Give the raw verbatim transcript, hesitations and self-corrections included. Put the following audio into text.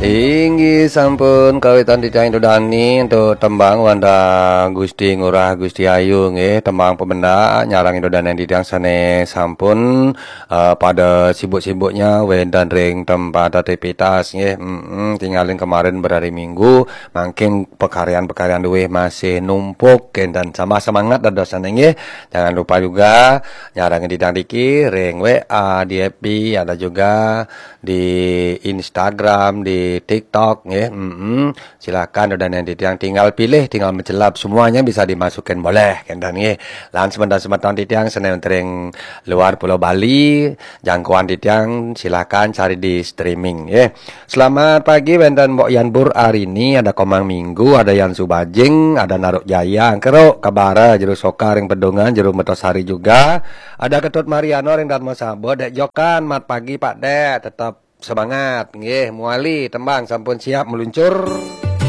Inggih sampun kawitan titiang Ida Dane antuk tembang wantah Gusti Ngurah Gusti Ayu nggih, tembang pamendak nyarengin Ida Dane titiang sane sampun, eh, pada sibuk-sibuknya wenten ring tempat aktivitas nggih. Mm-mm, tingalin kemarin berhari Minggu, mangkin pekaryan-pekaryan duwih masih numpuk kenten, tambah semangat dadosane nggih. Jangan lupa juga nyarengin titiang niki ring W A, di F B, ada juga di Instagram, di TikTok nggih. Mm-mm. Silakan Ida Dane titiang tinggal pilih, tinggal mencelap, semuanya bisa dimasukin boleh kenten nggih. Lan semeton-semeton titiang sane wenten ring luar Pulau Bali, jangkauan titiang silakan cari di streaming nggih. Selamat pagi wenten Mbok Yan Bur Arini, ada Komang Minggu, ada Yan Subajing, ada Naruk Jaya, engkero kabara jero Soka ring Pedungan, jero Mertosari juga. Ada Ketut Mariano ring Darmasaba, Dek Jokan, mat pagi Pak Dek, tetap semangat nggih, muali tembang sampun siap meluncur.